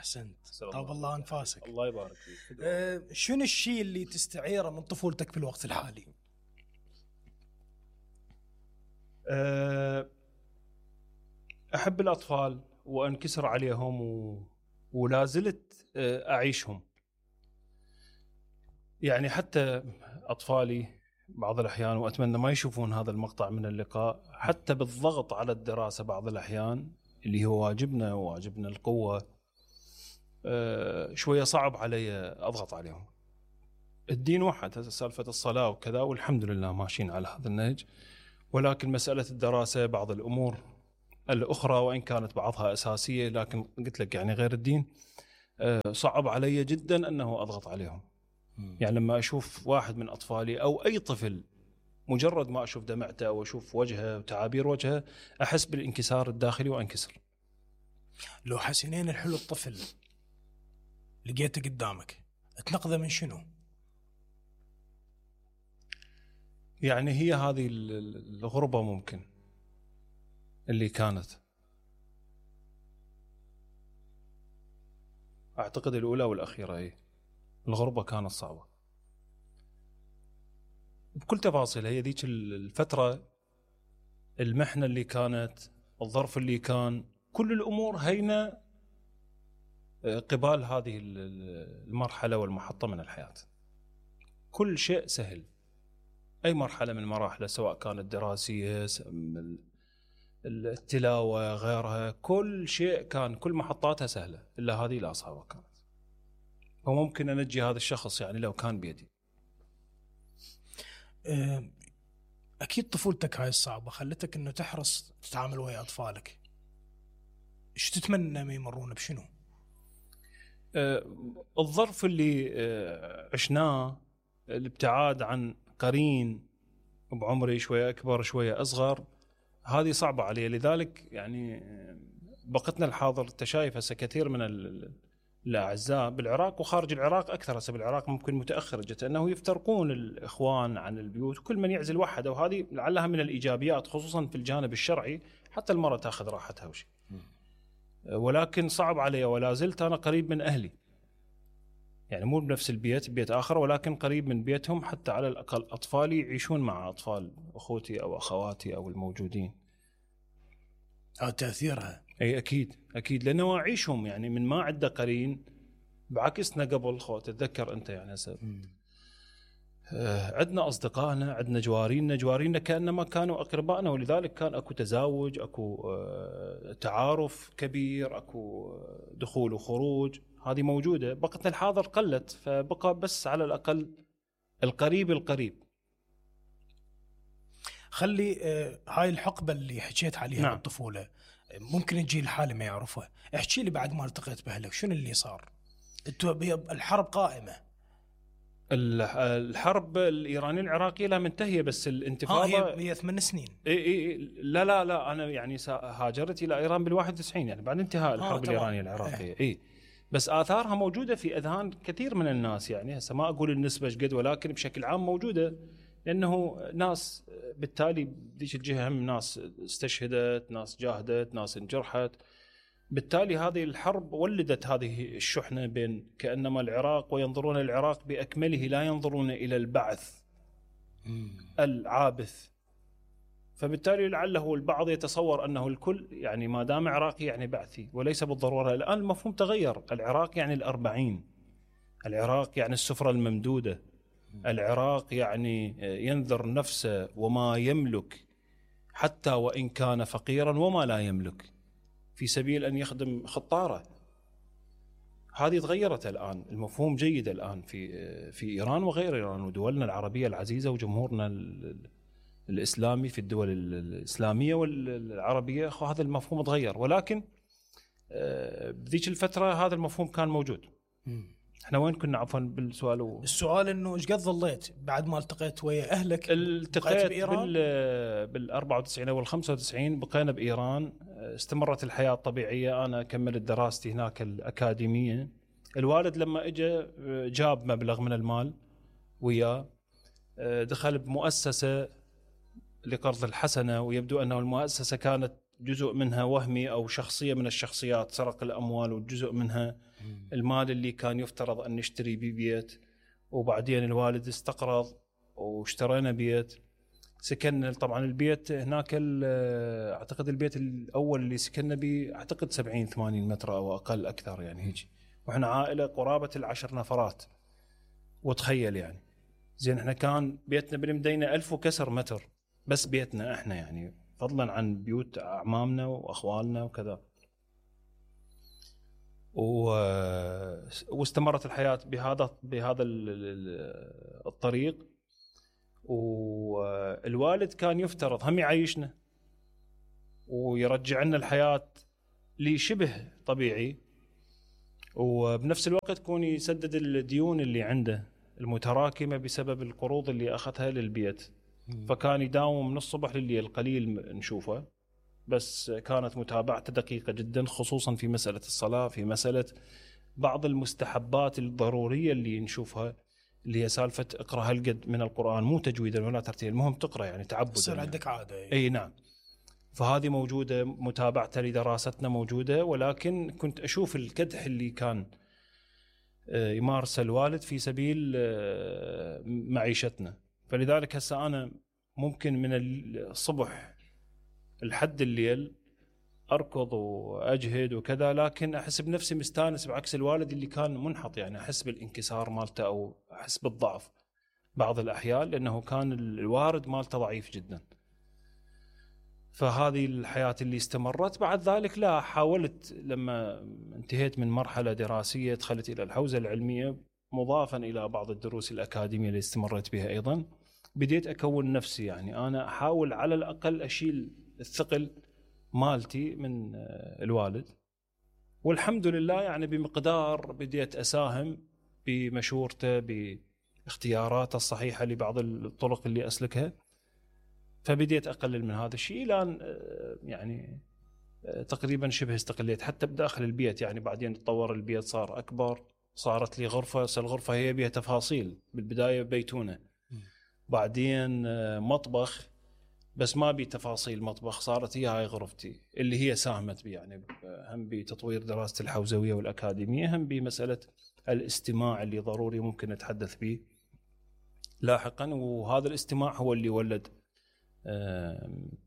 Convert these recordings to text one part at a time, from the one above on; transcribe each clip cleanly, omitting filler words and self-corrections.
أحسنت. طاب الله أنفاسك. الله يبارك فيك. شنو الشيء اللي تستعيره من طفولتك في الوقت الحالي؟ أحب الأطفال وأنكسر عليهم ولا زلت أعيشهم. يعني حتى أطفالي بعض الأحيان، وأتمنى ما يشوفون هذا المقطع من اللقاء، حتى بالضغط على الدراسة بعض الأحيان اللي هو واجبنا القوة، شوية صعب علي أضغط عليهم. الدين واحد، سالفة الصلاة وكذا، والحمد لله ماشيين على هذا النهج، ولكن مسألة الدراسة بعض الأمور الأخرى وإن كانت بعضها أساسية، لكن قلت لك يعني غير الدين صعب علي جدا أنه أضغط عليهم. يعني لما أشوف واحد من أطفالي أو أي طفل، مجرد ما أشوف دمعته أو أشوف وجهه وتعابير وجهه، أحس بالانكسار الداخلي وأنكسر. لو حسنين الحلو الطفل لقيته قدامك، تنقذه من شنو؟ يعني هي هذه الغربة ممكن اللي كانت، أعتقد الأولى والأخيرة. هي الغربة كانت صعبة بكل تفاصيلها. هي ذيك الفترة، المحنة اللي كانت، الظرف اللي كان، كل الأمور هينة قبال هذه المرحلة والمحطة من الحياة. كل شيء سهل، أي مرحلة من مراحله، سواء كانت دراسية، التلاوة، غيرها، كل شيء كان، كل محطاتها سهلة، إلا هذه الأصعب كانت. فممكن أنجي هذا الشخص يعني لو كان بيدي. أكيد طفولتك هاي الصعبة خلتك أنه تحرص تتعامل ويا أطفالك. إيش تتمنى ما يمرون بشنو؟ الظرف اللي عشناه، الابتعاد عن قرين بعمري شوية أكبر شوية أصغر، هذه صعبة علي. لذلك يعني بقتنا الحاضر تشايف هسه كثير من الأعزاء بالعراق وخارج العراق أكثر. هسه بالعراق ممكن متأخر جدا أنه يفترقون الإخوان عن البيوت، وكل من يعزل وحده، وهذه لعلها من الإيجابيات خصوصا في الجانب الشرعي، حتى المرأة تأخذ راحتها وشي. ولكن صعب علي، ولا زلت أنا قريب من أهلي، يعني مو بنفس البيت، بيت آخر، ولكن قريب من بيتهم، حتى على الأقل أطفالي يعيشون مع أطفال أخوتي أو أخواتي أو الموجودين. تأثيرها أي أكيد لأنه أعيشهم، يعني من ما عنده قرين بعكسنا قبل. تتذكر أنت يعني عندنا أصدقائنا، عندنا جوارينا كأنما كانوا أقربائنا، ولذلك كان أكو تزاوج، أكو تعارف كبير، أكو دخول وخروج، هذه موجودة. بقتنا الحاضر قلت، فبقى بس على الأقل القريب. خلي هاي الحقبة اللي حكيت عليها نعم. بالطفولة ممكن الجيل الحالي ما يعرفها. احكي لي بعد ما التقيت بأهلك شنو اللي صار؟ الحرب قائمة، الحرب الإيرانية العراقية لا منتهية، بس الانتفاضة هي 8 سنين. لا أنا يعني هاجرت إلى إيران بال91، يعني بعد انتهاء الحرب الإيرانية العراقية. بس آثارها موجودة في أذهان كثير من الناس، يعني هسه ما أقول النسبة قد، ولكن بشكل عام موجودة، لأنه ناس بالتالي بديش الجهة هم ناس استشهدت، ناس جاهدت، ناس انجرحت. بالتالي هذه الحرب ولدت هذه الشحنة بين كأنما العراق، وينظرون العراق بأكمله، لا ينظرون إلى البعث العابث. فبالتالي لعله البعض يتصور أنه الكل يعني ما دام عراقي يعني بعثي، وليس بالضرورة. الآن المفهوم تغير. العراق يعني 40، العراق يعني السفرة الممدودة، العراق يعني ينذر نفسه وما يملك حتى وإن كان فقيرا وما لا يملك في سبيل أن يخدم خطاره. هذه تغيرت الآن، المفهوم جيد الآن في إيران وغير إيران ودولنا العربية العزيزة وجمهورنا الإسلامي في الدول الإسلامية والعربية. هذا المفهوم تغير، ولكن بذيك الفترة هذا المفهوم كان موجود. احنا وين كنا عفوا بالسؤال؟ السؤال انه ايش قد ظليت بعد ما التقيت ويا اهلك؟ التقيت بال94 او ال95 بقينا بايران، استمرت الحياه الطبيعيه. انا كملت دراستي هناك الاكاديميه. الوالد لما اجى جاب مبلغ من المال وياه، دخل بمؤسسه لقرض الحسنه، ويبدو انه المؤسسه كانت جزء منها وهمي أو شخصية من الشخصيات سرق الأموال، وجزء منها المال اللي كان يفترض أن نشتري به بيت، وبعدين الوالد استقرض واشترينا بيت. سكننا طبعا البيت هناك، أعتقد البيت الأول اللي سكننا به أعتقد 70-80 متر أو أقل أكثر يعني هيك، وإحنا عائلة قرابة 10 نفرات. وتخيل يعني زين احنا كان بيتنا بالمدينة 1000 وكسر متر بس بيتنا احنا، يعني فضلا عن بيوت أعمامنا وأخوالنا وكذا. واستمرت الحياة بهذا الطريق. والوالد كان يفترض هم يعيشنا ويرجع لنا الحياة لشبه طبيعي، وبنفس الوقت يكون يسدد الديون اللي عنده المتراكمة بسبب القروض اللي أخذها للبيت. فكان يداوم من الصبح لليل، قليل نشوفه، بس كانت متابعته دقيقة جدا، خصوصا في مسألة الصلاة، في مسألة بعض المستحبات الضرورية اللي نشوفها، اللي هي سالفة اقرأ هالقد من القرآن، مو تجويدا ولا ترتيل، المهم تقرأ يعني تعبدا، يصير عندك عادة. أي نعم. فهذه موجودة، متابعته لدراستنا موجودة، ولكن كنت أشوف الكدح اللي كان يمارس الوالد في سبيل معيشتنا. فلذلك هسه أنا ممكن من الصبح لحد الليل أركض وأجهد وكذا، لكن أحس بنفسي مستانس، بعكس الوالد اللي كان منحط، يعني أحس بالانكسار مالته أو أحس بالضعف بعض الأحيان، لأنه كان الوارد مالته ضعيف جدا. فهذه الحياة اللي استمرت. بعد ذلك لا، حاولت لما انتهيت من مرحلة دراسية دخلت إلى الحوزة العلمية، مضافا إلى بعض الدروس الأكاديمية اللي استمرت بها أيضا. بديت أكون نفسي، يعني أنا أحاول على الأقل أشيل الثقل مالتي من الوالد، والحمد لله يعني بمقدار بديت أساهم بمشورته، باختياراته الصحيحة لبعض الطرق اللي أسلكها. فبديت أقلل من هذا الشيء إلى أن يعني تقريبا شبه استقليت حتى بداخل البيت. يعني بعدين تطور البيت، صار أكبر، صارت لي غرفة. الغرفة هي بها تفاصيل، بالبداية بيتونة، بعدين مطبخ، بس ما بي تفاصيل مطبخ، صارت هي هاي غرفتي اللي هي ساهمت بي، يعني هم بتطوير دراسة الحوزوية والأكاديمية، هم بمسألة الاستماع اللي ضروري ممكن نتحدث به لاحقا. وهذا الاستماع هو اللي ولد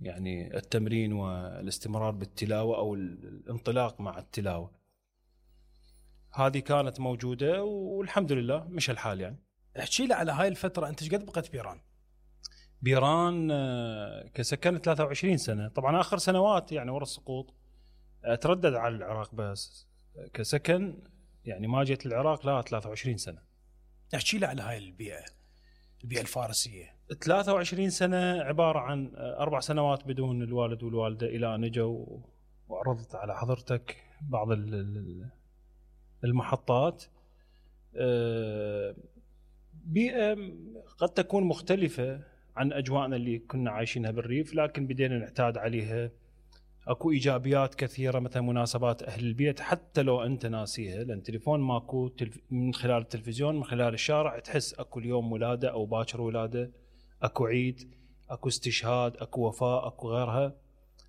يعني التمرين والاستمرار بالتلاوة أو الانطلاق مع التلاوة. هذه كانت موجودة والحمد لله مش الحال. يعني احكي لي على هاي الفترة، أنت قد بقيت بإيران؟ بإيران كسكنت 23 سنة. طبعا آخر سنوات يعني ورا السقوط أتردد على العراق، بس كسكن يعني ما جيت العراق لا 23 سنة. احكي لي على هاي البيئة الفارسية. 23 سنة عبارة عن 4 سنوات بدون الوالد والوالدة، إلى أن جوا وعرضت على حضرتك بعض المحطات. بيئة قد تكون مختلفة عن أجواءنا اللي كنا عايشينها بالريف، لكن بدينا نعتاد عليها. أكو إيجابيات كثيرة، مثلا مناسبات أهل البيت حتى لو أنت ناسيها، لأن تليفون ماكو، من خلال التلفزيون، من خلال الشارع تحس أكو اليوم ولادة أو باكر ولادة، أكو عيد، أكو استشهاد، أكو وفاة، أكو غيرها،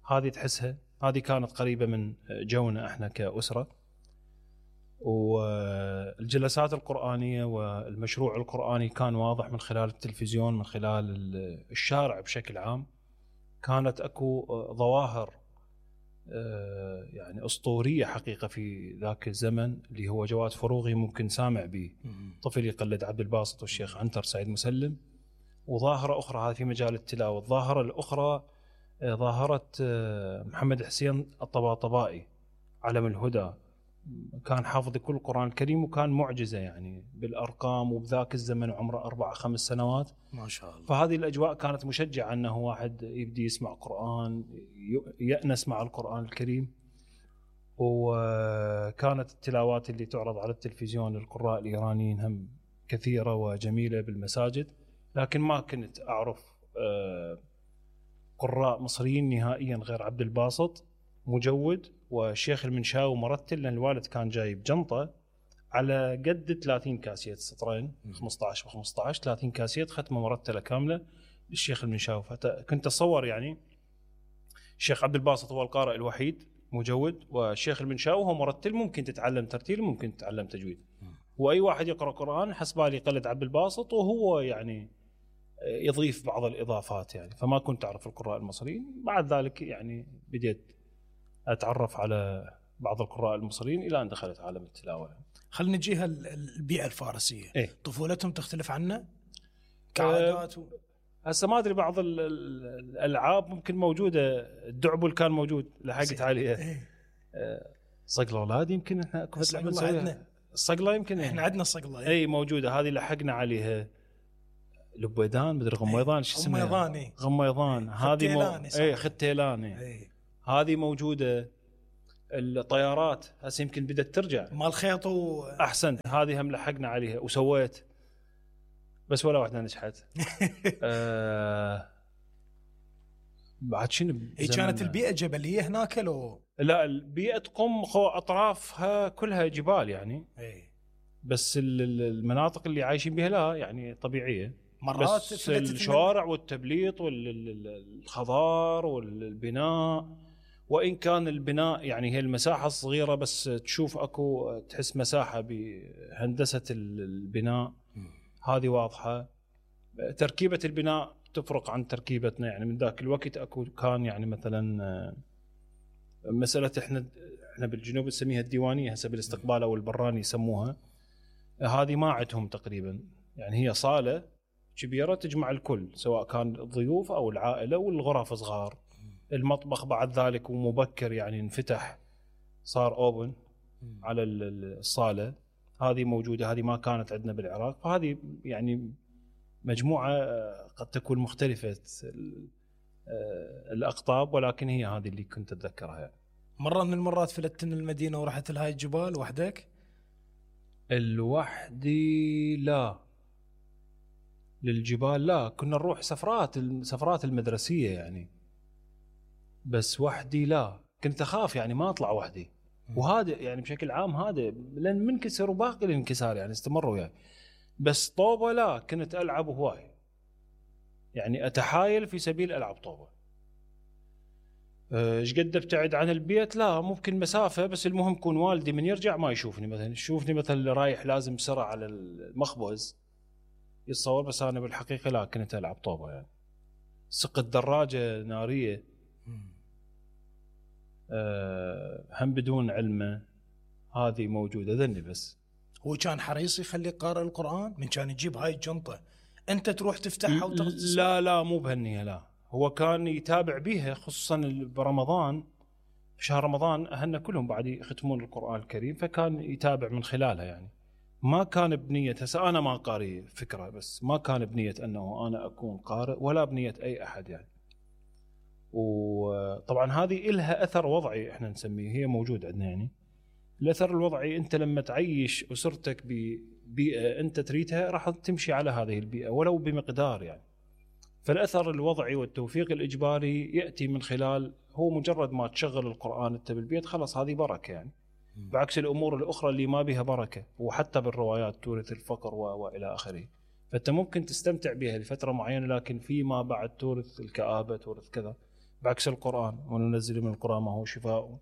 هذه تحسها. هذه كانت قريبة من جونا احنا كأسرة. والجلسات القرآنية والمشروع القرآني كان واضح من خلال التلفزيون، من خلال الشارع بشكل عام. كانت أكو ظواهر يعني أسطورية حقيقة في ذاك الزمن، اللي هو جواد فروغي ممكن سامع به، طفل يقلد عبد الباسط والشيخ عنتر سعيد مسلم. وظاهرة أخرى هذه في مجال التلاوة. الظاهرة الأخرى ظاهرة محمد حسين الطباطبائي علم الهدى، كان حافظ كل القرآن الكريم وكان معجزة يعني بالأرقام، وبذاك الزمن عمره 4-5 سنوات ما شاء الله. فهذه الأجواء كانت مشجعة أنه واحد يبدي يسمع قرآن، يأنس مع القرآن الكريم. وكانت التلاوات اللي تعرض على التلفزيون للقراء الإيرانيين هم كثيرة وجميلة بالمساجد، لكن ما كنت أعرف قراء مصريين نهائيا غير عبد الباسط مجود والشيخ المنشاوي مرتل، لأن الوالد كان جايب جنطة على قد 30 كاسيت، سطرين 15 ب15، 30 كاسيت ختمة مرتلة كاملة للشيخ المنشاوي. كنت أتصور يعني الشيخ عبد الباسط هو القارئ الوحيد مجود، والشيخ المنشاوي هو مرتل، ممكن تتعلم ترتيل ممكن تتعلم تجويد. واي واحد يقرا قران حسبالي يقلد عبد الباسط، وهو يعني يضيف بعض الاضافات يعني. فما كنت اعرف القراء المصريين، بعد ذلك يعني بديت اتعرف على بعض القراء المصريين الى ان دخلت عالم التلاوه يعني. خلينا نجيها البيئه الفارسيه. إيه؟ طفولتهم تختلف عنا كعادات هسه ما ادري، بعض الالعاب ممكن موجوده. الدعبل كان موجود، لحقت عليه. إيه؟ صقله اولاد يمكن احنا كنا نلعب نسويها. الصقله يمكن احنا عندنا الصقله. اي موجوده، هذه لحقنا عليها. لبيدان مدري غميضان شو اسمها، غميضان. غميضان هذه اي ختيلان. هذه موجوده. الطيارات هسه يمكن بدت ترجع مال خيط احسن، هذه هم لحقنا عليها وسويت، بس ولا واحده نجحت. بعد شنو هي كانت البيئه جبليه هناك لو لا؟ البيئه قم اطرافها كلها جبال يعني. بس المناطق اللي عايشين بها لا يعني طبيعيه، مرات بس الشوارع والتبليط والخضار والبناء، وإن كان البناء يعني هي المساحة الصغيرة، بس تشوف أكو تحس مساحة بهندسة البناء هذه واضحة. تركيبة البناء تفرق عن تركيبتنا يعني. من ذاك الوقت أكو كان يعني مثلا مسألة إحنا بالجنوب نسميها الديوانية هسه بالاستقبال أو البراني يسموها، هذه ما عندهم تقريبا يعني. هي صالة كبيرة تجمع الكل، سواء كان الضيوف أو العائلة، والغرف صغار. المطبخ بعد ذلك ومبكر يعني انفتح، صار اوبن على الصالة. هذه موجودة، هذه ما كانت عندنا بالعراق. فهذه يعني مجموعة قد تكون مختلفة الأقطاب، ولكن هي هذه اللي كنت أتذكرها يعني. مرة من المرات فلتت من المدينة ورحت لهاي الجبال وحدك؟ الوحدي لا، للجبال لا. كنا نروح سفرات المدرسية يعني، بس وحدي لا. كنت أخاف يعني ما أطلع وحدي. وهذا يعني بشكل عام هذا لأن منكسر وباقي الانكسار يعني استمروا يعني. بس طوبة لا، كنت ألعب هواي يعني، أتحايل في سبيل ألعب طوبة. ايش قد ابتعد عن البيت؟ لا، ممكن مسافة، بس المهم يكون والدي من يرجع ما يشوفني، مثلا يشوفني مثلا رايح لازم بسرعة على المخبز يتصور، بس أنا بالحقيقة لا، كنت ألعب طوبة يعني. سقط دراجة نارية هم بدون علمه، هذه موجودة ذني. بس هو كان حريص يخليك قارئ القرآن؟ من كان يجيب هاي الجنطة أنت تروح تفتحها وتغسل؟ لا مو بهالنية، لا. هو كان يتابع بيها، خصوصا برمضان. في شهر رمضان أهلنا كلهم بعد يختمون القرآن الكريم، فكان يتابع من خلالها يعني. ما كان بنية، هسه أنا ما قارئ فكرة، بس ما كان بنية أنه أنا أكون قارئ، ولا بنية أي أحد يعني. وطبعا هذه إلها أثر وضعي احنا نسميه، هي موجود عندنا يعني. الأثر الوضعي، أنت لما تعيش أسرتك ببيئة أنت تريدها راح تمشي على هذه البيئة ولو بمقدار يعني. فالأثر الوضعي والتوفيق الإجباري يأتي من خلال، هو مجرد ما تشغل القرآن أنت بالبيت خلاص هذه بركة يعني. بعكس الأمور الأخرى اللي ما بها بركة، وحتى بالروايات تورث الفقر وإلى آخره. فأنت ممكن تستمتع بها لفترة معينة، لكن فيما بعد تورث الكآبة، تورث كذا. بعكس القرآن، وننزل من القرآن ما هو شفاء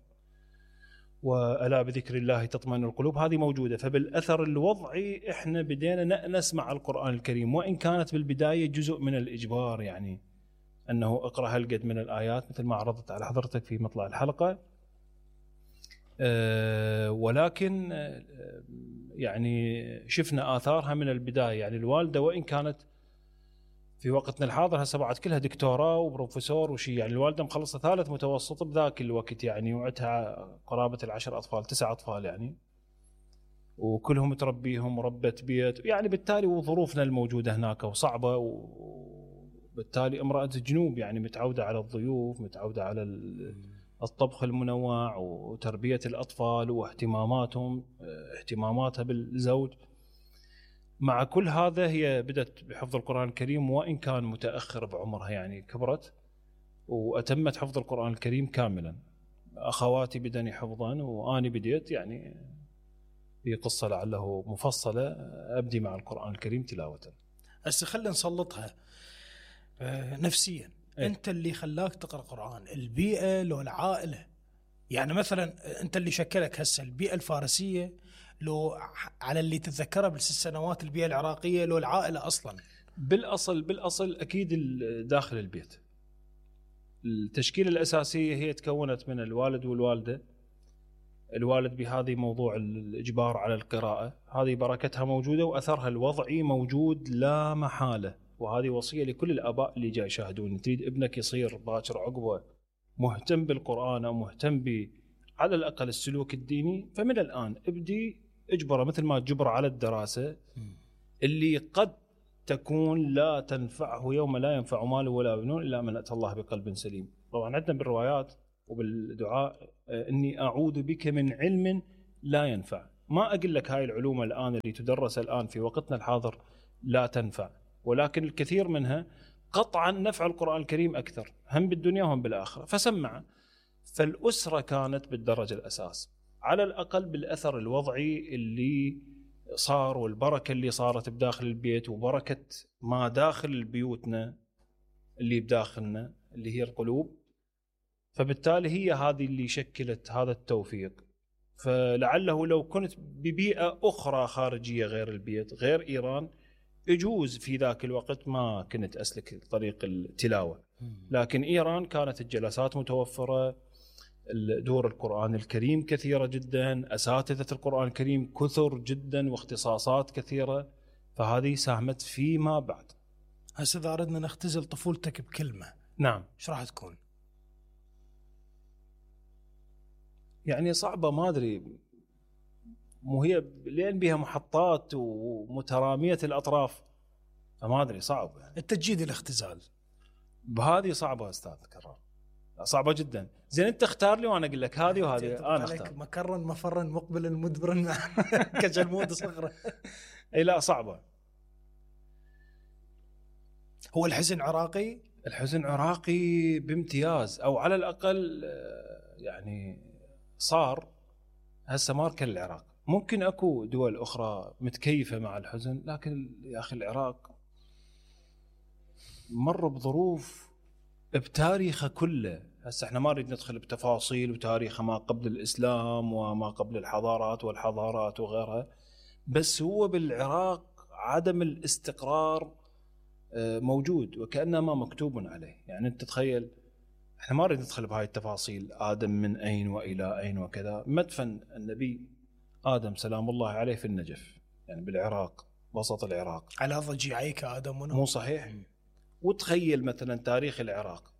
وألا بذكر الله تطمئن القلوب، هذه موجودة. فبالأثر الوضعي إحنا بدينا نسمع القرآن الكريم، وإن كانت بالبداية جزء من الإجبار يعني، أنه اقرأ هالقد من الآيات مثل ما عرضت على حضرتك في مطلع الحلقة. ولكن يعني شفنا آثارها من البداية يعني. الوالدة وإن كانت في وقتنا الحاضر هسه بعد كلها دكتوراه وبروفيسور وشي يعني، الوالدة مخلصة 3 متوسط بذاك الوقت يعني، وعدها قرابة 10 أطفال 9 أطفال يعني، وكلهم تربيهم ربة بيت يعني. بالتالي وظروفنا الموجودة هناك وصعبة، وبالتالي امرأة جنوب يعني متعودة على الضيوف، متعودة على الطبخ المنوع وتربية الأطفال واهتماماتهم، اهتماماتها بالزوج. مع كل هذا هي بدأت بحفظ القرآن الكريم، وإن كان متأخر بعمرها يعني، كبرت وأتمت حفظ القرآن الكريم كاملا. أخواتي بدني حفظا، وأنا بديت يعني في قصة لعله مفصلة أبدي مع القرآن الكريم تلاوة. هسه خلينا نسلطها نفسيا. انت اللي خلاك تقرا قرآن، البيئة لو العائلة؟ يعني مثلا انت اللي شكلك هسه البيئة الفارسية، لو على اللي تتذكره بال6 سنوات البيئة العراقية، لو العائلة اصلا؟ بالاصل اكيد داخل البيت. التشكيله الاساسيه هي تكونت من الوالد والوالده. الوالد بهذه موضوع الاجبار على القراءه، هذه بركتها موجوده واثرها الوضعي موجود لا محاله، وهذه وصيه لكل الاباء اللي جاي يشاهدون. تريد ابنك يصير باكر عقبه مهتم بالقران او مهتم على الاقل السلوك الديني، فمن الان ابدي اجبره مثل ما تجبره على الدراسه اللي قد تكون لا تنفعه يوم لا ينفع مال ولا بنون الا من اتى الله بقلب سليم. طبعا عندنا بالروايات وبالدعاء اني اعوذ بك من علم لا ينفع. ما اقول لك هاي العلوم الان اللي تدرس الان في وقتنا الحاضر لا تنفع، ولكن الكثير منها قطعا نفع القرآن الكريم اكثر، هم بالدنيا وهم بالاخره. فسمع. فالاسره كانت بالدرجه الاساس، على الاقل بالاثر الوضعي اللي صار والبركه اللي صارت بداخل البيت وبركه ما داخل بيوتنا اللي بداخلنا اللي هي القلوب. فبالتالي هي هذه اللي شكلت هذا التوفيق. فلعله لو كنت ببيئة أخرى خارجية غير البيت غير إيران، يجوز في ذاك الوقت ما كنت أسلك طريق التلاوة. لكن إيران كانت الجلسات متوفرة، دور القرآن الكريم كثيرة جدا، أساتذة القرآن الكريم كثر جدا واختصاصات كثيرة، فهذه ساهمت فيما بعد. هسه إذا أردنا نختزل طفولتك بكلمة، نعم، إيش راح تكون؟ يعني صعبة، ما أدري، مو هي لأن بها محطات ومترامية الأطراف، فما أدري، صعب يعني. التجديد الاختزال بهذه صعبة أستاذ كرار، صعبة جدا. زين أنت اختار لي وأنا أقول لك هذه وهذه. أنا اختار مكرا مفرا مقبلا مدبرا كجلمود صغرى. أي لا، صعبة. هو الحزن عراقي؟ الحزن عراقي بامتياز، أو على الأقل يعني صار هسه ماركة العراق. ممكن أكو دول أخرى متكيفة مع الحزن، لكن يا أخي العراق مر بظروف بتاريخه كله. هسه احنا ما نريد ندخل بتفاصيل وتاريخه ما قبل الإسلام وما قبل الحضارات والحضارات وغيرها، بس هو بالعراق عدم الاستقرار موجود وكأنما مكتوب عليه. يعني أنت تخيل، احنا ما نريد ندخل بهاي التفاصيل، آدم من أين وإلى أين وكذا. مدفن النبي آدم سلام الله عليه في النجف، يعني بالعراق، وسط العراق، على ضجيعيك آدم مو صحيح؟ وتخيل مثلا تاريخ العراق،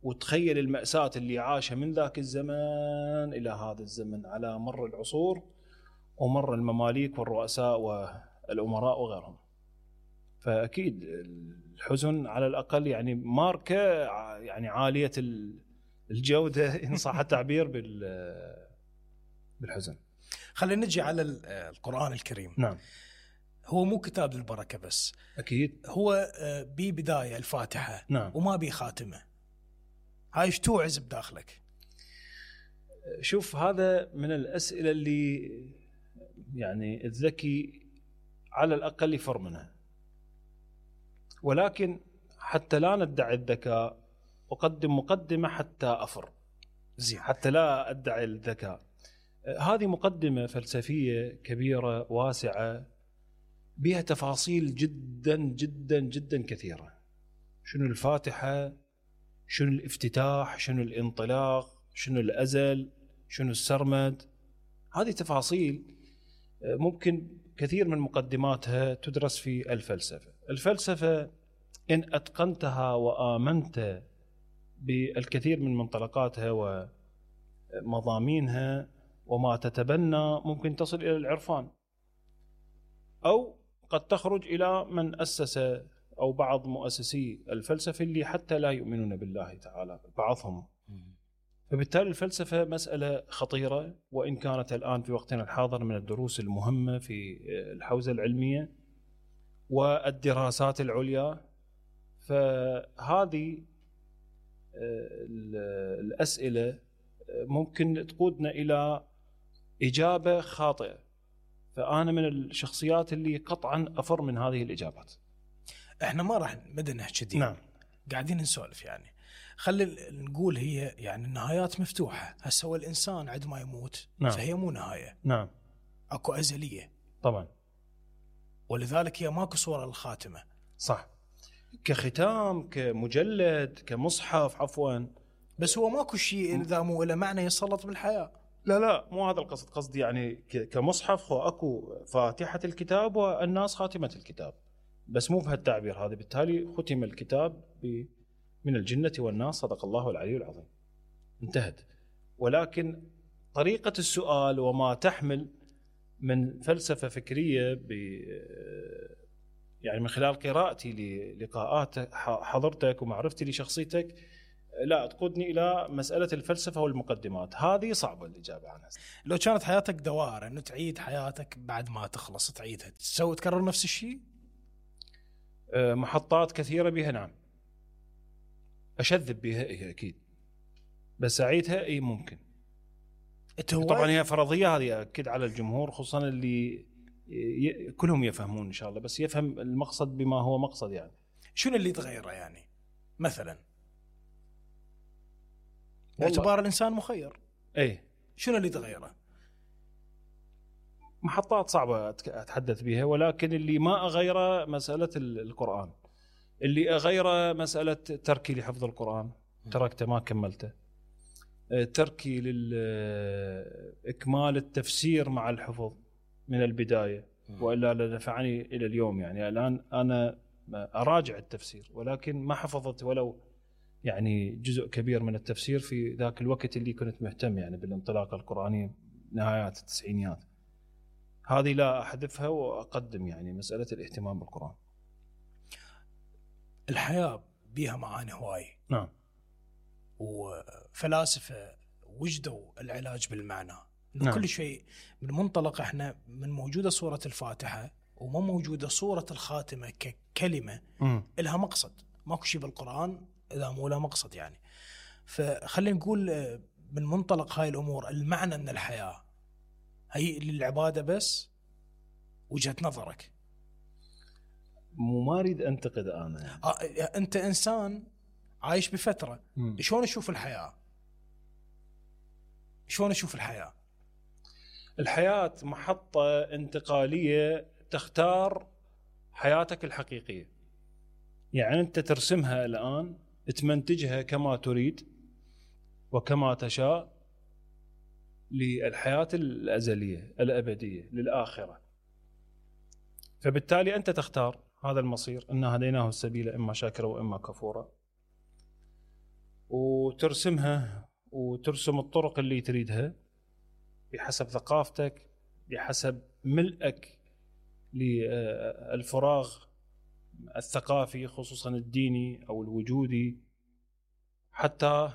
وتخيل المأساة اللي عاشها من ذاك الزمان إلى هذا الزمن على مر العصور ومر المماليك والرؤساء والأمراء وغيرهم. فأكيد الحزن على الأقل يعني ماركة يعني عالية الجودة إن صح التعبير بالحزن. خلينا نجي على القرآن الكريم. نعم. هو مو كتاب للبركة بس، أكيد هو ببداية الفاتحة. نعم. وما بي خاتمة. هاي ايش توعز بداخلك؟ شوف، هذا من الأسئلة اللي يعني الذكي على الأقل يفر منها، ولكن حتى لا ندعي الذكاء أقدم مقدمة حتى أفر. زين. حتى لا أدعي الذكاء. هذه مقدمة فلسفية كبيرة واسعة بها تفاصيل جدا جدا جدا كثيرة. شنو الفاتحة، شنو الافتتاح، شنو الانطلاق، شنو الأزل، شنو السرمد. هذه تفاصيل ممكن كثير من مقدماتها تدرس في الفلسفة. الفلسفة إن أتقنتها وآمنت بالكثير من منطلقاتها ومضامينها وما تتبنى، ممكن تصل إلى العرفان، أو قد تخرج إلى من أسس أو بعض مؤسسي الفلسفة اللي حتى لا يؤمنون بالله تعالى بعضهم. فبالتالي الفلسفة مسألة خطيرة، وإن كانت الآن في وقتنا الحاضر من الدروس المهمة في الحوزة العلمية والدراسات العليا. فهذه الأسئلة ممكن تقودنا إلى إجابة خاطئة، فأنا من الشخصيات اللي قطعا أفر من هذه الإجابات. احنا ما راح مدى نحكي. نعم. قاعدين نسولف يعني. خلي نقول هي يعني النهايات مفتوحة. هسه هو الإنسان عندما يموت نعم. فهي مو نهاية، نعم أكو أزلية، طبعا ولذلك هي ماكو صورة للخاتمة. صح، كختام كمجلد كمصحف عفوا، بس هو ماكو شيء إذا مو له معنى يسلط بالحياة. لا مو هذا القصد، قصدي يعني كمصحف هو اكو فاتحة الكتاب والناس خاتمة الكتاب، بس مو بهالتعبير هذا. بالتالي ختم الكتاب من الجنة والناس، صدق الله العلي العظيم، انتهت. ولكن طريقة السؤال وما تحمل من فلسفة فكرية يعني من خلال قراءتي للقاءات حضرتك ومعرفتي لشخصيتك لا تقودني إلى مسألة الفلسفة والمقدمات، هذه صعبة الإجابة عنها. لو كانت حياتك دوائر أنه تعيد حياتك بعد ما تخلص تعيدها، تسوي تكرر نفس الشيء؟ محطات كثيرة بها نعم، أشذب بها إيه أكيد، بس أعيدها إيه ممكن. طبعا هي فرضية هذه أكد على الجمهور، خصوصا اللي كلهم يفهمون إن شاء الله، بس يفهم المقصد بما هو مقصد. يعني شنو اللي تغيره يعني مثلا؟ باعتبار الإنسان مخير، ايه شنو اللي تغيره؟ محطات صعبة أتحدث بها، ولكن اللي ما أغيره مسألة القرآن، اللي أغيره مسألة تركي لحفظ القرآن، تركته ما كملته، تركي لإكمال التفسير مع الحفظ من البداية، وإلا لنفعني إلى اليوم. يعني الآن أنا أراجع التفسير ولكن ما حفظت ولو يعني جزء كبير من التفسير في ذاك الوقت اللي كنت مهتم يعني بالانطلاقة القرآنية نهايات التسعينيات. هذه لا أحذفها وأقدم يعني مسألة الاهتمام بالقرآن. الحياة بيها معاني هواي. نعم. وفلاسفة وجدوا العلاج بالمعنى. نعم. كل شيء من منطلق احنا من موجودة سورة الفاتحة وما موجودة سورة الخاتمة ككلمة إلها مقصد. ماكو شيء بالقرآن إذا مو له مقصد يعني. فخلينا نقول من منطلق هاي الأمور المعنى من الحياة هي للعبادة بس. وجهة نظرك. ما أريد أنتقد أنا يعني. أنت إنسان عايش بفترة. شلون أشوف الحياة؟ شلون أشوف الحياة؟ الحياة محطة انتقالية تختار حياتك الحقيقية. يعني أنت ترسمها الآن، تمنتجها كما تريد وكما تشاء للحياة الأزلية الأبدية للآخرة. فبالتالي أنت تختار هذا المصير، إنا هديناه السبيل إما شاكرا وإما كفورا، وترسمها وترسم الطرق اللي تريدها بحسب ثقافتك، بحسب ملئك للفراغ الثقافي خصوصا الديني أو الوجودي، حتى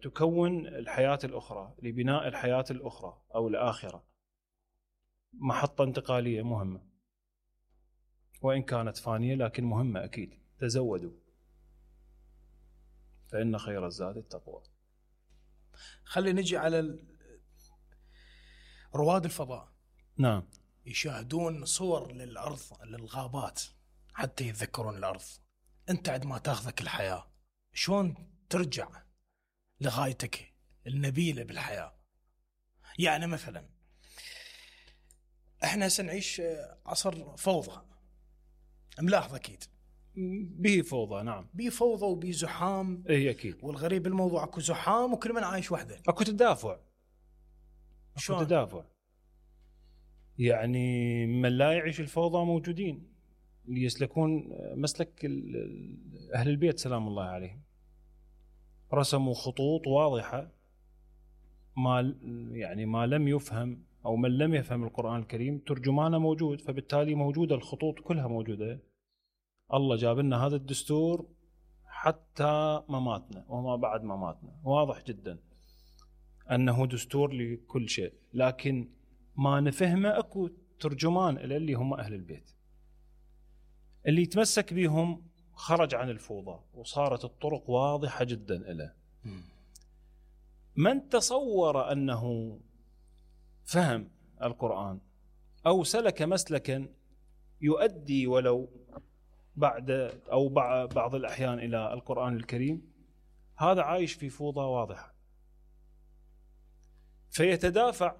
تكون الحياة الأخرى لبناء الحياة الأخرى أو الآخرة. محطة انتقالية مهمة وإن كانت فانية لكن مهمة أكيد. تزودوا فإن خير الزاد التقوى. خلي نجي على رواد الفضاء. نعم. يشاهدون صور للأرض للغابات حتى يتذكرون الأرض. أنت عندما تاخذك الحياة شلون ترجع لغايتك النبيلة بالحياة؟ يعني مثلا احنا سنعيش عصر فوضى، ملاحظ أكيد به فوضى. نعم به فوضى وبه زحام. اي اكيد. والغريب بالموضوع اكو زحام وكل من عايش وحده. اكو تدافع. شلون تدافع؟ يعني من لا يعيش الفوضى موجودين اللي يسلكون مسلك أهل البيت سلام الله عليهم. رسموا خطوط واضحة، ما لم يفهم أو من لم يفهم القرآن الكريم ترجمانه موجود، فبالتالي موجودة الخطوط كلها موجودة. الله جاب لنا هذا الدستور حتى مماتنا وما بعد مماتنا، واضح جدا أنه دستور لكل شيء، لكن ما نفهمه أكو ترجمان اللي هم أهل البيت اللي يتمسك بهم خرج عن الفوضى وصارت الطرق واضحة جدا له. من تصور أنه فهم القرآن أو سلك مسلكا يؤدي ولو بعض الأحيان إلى القرآن الكريم، هذا عايش في فوضى واضحة، فيتدافع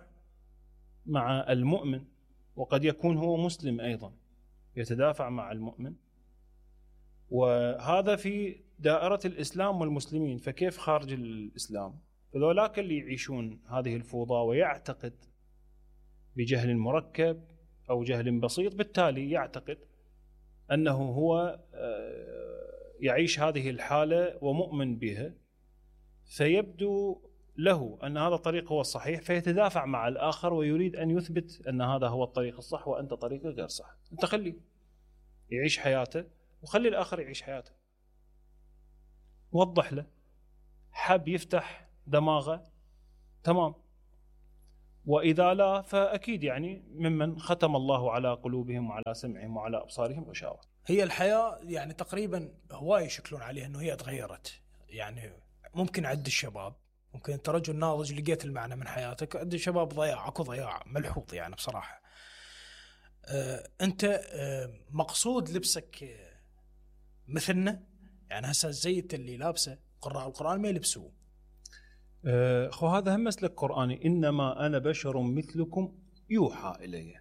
مع المؤمن، وقد يكون هو مسلم أيضا، يتدافع مع المؤمن، وهذا في دائرة الإسلام والمسلمين. فكيف خارج الإسلام؟ فذولاك اللي يعيشون هذه الفوضى ويعتقد بجهل مركب أو جهل بسيط، بالتالي يعتقد أنه هو يعيش هذه الحالة ومؤمن بها، فيبدو له أن هذا الطريق هو الصحيح، فيتدافع مع الآخر ويريد أن يثبت أن هذا هو الطريق الصح وأنت طريقك غير صح. أنت خليه يعيش حياته وخلي الآخر يعيش حياته، وضح له، حب يفتح دماغه تمام، وإذا لا فأكيد يعني ممن ختم الله على قلوبهم وعلى سمعهم وعلى أبصارهم غشاوة. هي الحياة يعني تقريبا هواي يشكلون عليها أنه هي تغيرت. يعني ممكن عد الشباب، ممكن أنت رجل ناضج لقيت المعنى من حياتك، عد الشباب ضياع، أكو ضياع ملحوظ يعني بصراحة. أنت مقصود لبسك مثلنا؟ يعني هسه الزيت اللي لابسه قراء القرآن ما يلبسوه. خو هذا هم مسلك قرآني، إنما أنا بشر مثلكم يوحى إلي.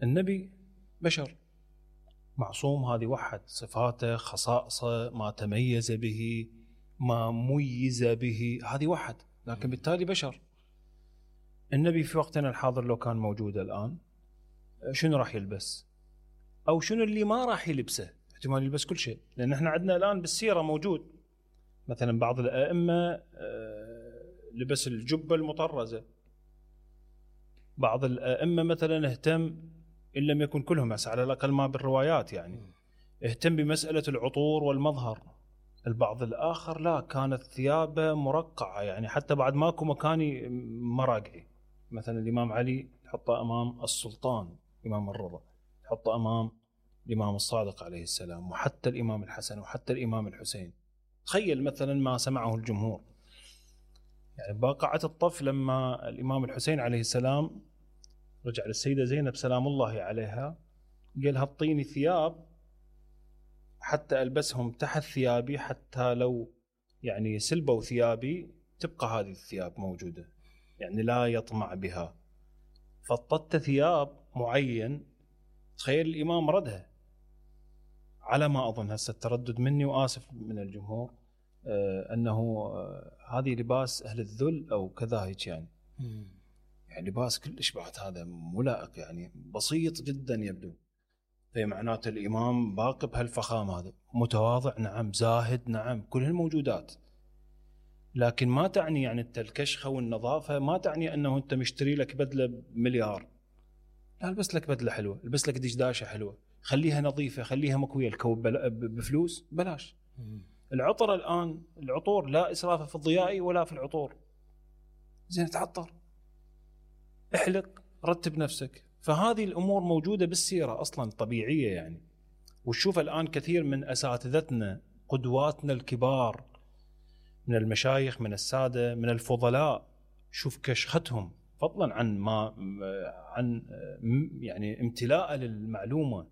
النبي بشر معصوم، هذه وحد صفاته، خصائصه، ما تميز به، ما ميز به، هذه وحد، لكن بالتالي بشر. النبي في وقتنا الحاضر لو كان موجود الآن شنو راح يلبس؟ أو شنو اللي ما راح يلبسه؟ احتمال يلبس كل شيء، لأن احنا عندنا الآن بالسيرة موجود مثلا بعض الأئمة لبس الجبة المطرزة، بعض الأئمة مثلا اهتم، إن لم يكن كلهم بس على الأقل ما بالروايات يعني، اهتم بمسألة العطور والمظهر. البعض الآخر لا، كانت ثيابه مرقعة، يعني حتى بعد ماكو مكاني مراقعي. مثلا الإمام علي تحطه أمام السلطان إمام الرضا، تحطه أمام الإمام الصادق عليه السلام، وحتى الإمام الحسن وحتى الإمام الحسين. تخيل مثلا ما سمعه الجمهور، يعني باقعة الطف لما الإمام الحسين عليه السلام رجع للسيدة زينب سلام الله عليها، قال هطيني ثياب حتى ألبسهم تحت ثيابي، حتى لو يعني سلبوا ثيابي تبقى هذه الثياب موجودة، يعني لا يطمع بها. فطت ثياب معين، تخيل الإمام ردها على ما أظن، هسه التردد مني وآسف من الجمهور، أنه هذه لباس أهل الذل أو كذا هيك يعني. يعني لباس كلش بعد هذا ملائق، يعني بسيط جدا يبدو، في معناته الإمام باقي بهالفخامة، هذا متواضع نعم، زاهد نعم، كل هالموجودات، لكن ما تعني يعني أنت الكشخة والنظافة ما تعني أنه أنت مشتري لك بدلة بمليار. لا، البس لك بدلة حلوة، البس لك دشداشة حلوة، خليها نظيفة، خليها مكوية، الكوب بفلوس بلاش. العطر الآن، العطور لا إسراف في الضياء ولا في العطور، زين تعطر، احلق، رتب نفسك. فهذه الأمور موجودة بالسيرة أصلا طبيعية يعني. وشوف الآن كثير من أساتذتنا قدواتنا الكبار من المشايخ، من السادة، من الفضلاء، شوف كشختهم فضلا عن يعني امتلاء للمعلومة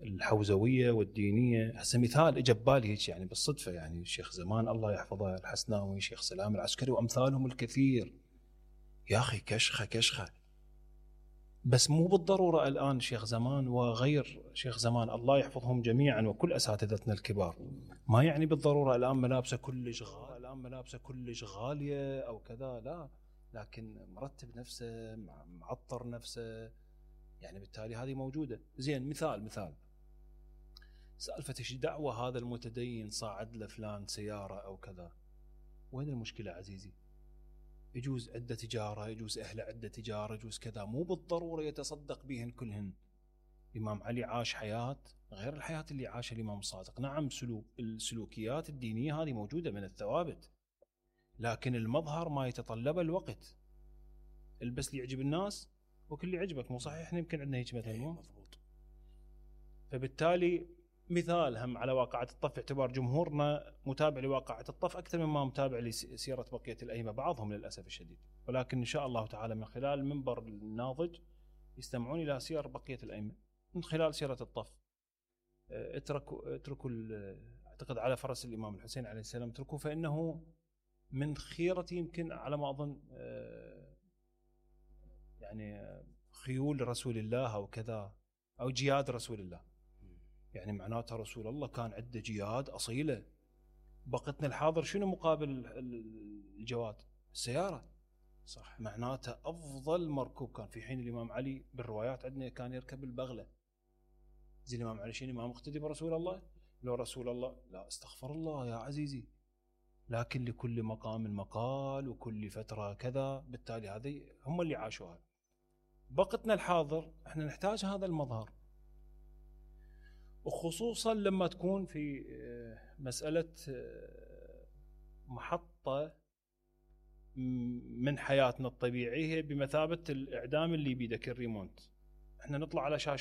الحوزوية والدينية. هسه مثال اجى ببالي هيك يعني بالصدفة، يعني الشيخ زمان الله يحفظه الحسناوي، شيخ سلام العسكري وأمثالهم الكثير، يا أخي كشخة، بس مو بالضرورة الآن شيخ زمان وغير شيخ زمان الله يحفظهم جميعا وكل أساتذتنا الكبار، ما يعني بالضرورة الآن ملابسه كلش غالية أو كذا، لا، لكن مرتب نفسه، معطر نفسه، يعني بالتالي هذه موجودة. زين مثال سالفة ايش دعوة هذا المتدين صاعد لفلان سيارة أو كذا، وين المشكلة عزيزي؟ يجوز عنده تجارة، يجوز أهله عنده تجارة، يجوز كذا، مو بالضرورة يتصدق بهن كلهن. الإمام علي عاش حياة غير الحياة اللي عاشها الإمام الصادق. نعم السلوكيات الدينية هذه موجودة من الثوابت، لكن المظهر ما يتطلب الوقت. البس لي يعجب الناس وكل اللي يعجبك، مو صحيح؟ احنا يمكن عندنا هيك مثلا، مضبوط. فبالتالي مثال هم على واقعة الطف، اعتبار جمهورنا متابع لواقعة الطف أكثر مما متابع لسيرة بقية الأئمة، بعضهم للأسف الشديد، ولكن إن شاء الله تعالى من خلال منبر الناضج يستمعون إلى سير بقية الأئمة من خلال سيرة الطف. اتركوا اعتقد على فرس الامام الحسين عليه السلام اتركوه فانه من خيرة يمكن على ما اظن يعني خيول رسول الله او كذا او جياد رسول الله. يعني معناتها رسول الله كان عنده جياد اصيله. بقتنا الحاضر شنو مقابل الجواد؟ السياره. صح. معناته افضل مركوب كان في حين الامام علي بالروايات عندنا كان يركب البغله. زي الامام علي شنو ما مقتدي برسول الله؟ لو رسول الله لا استغفر الله يا عزيزي. لكن لكل مقام مقال وكل فتره كذا، بالتالي هذه هم اللي عاشوها. بقتنا الحاضر احنا نحتاج هذا المظهر، وخصوصا لما تكون في مسألة محطة من حياتنا الطبيعية بمثابة الإعدام اللي بيدك الريمونت. احنا نطلع على شاشات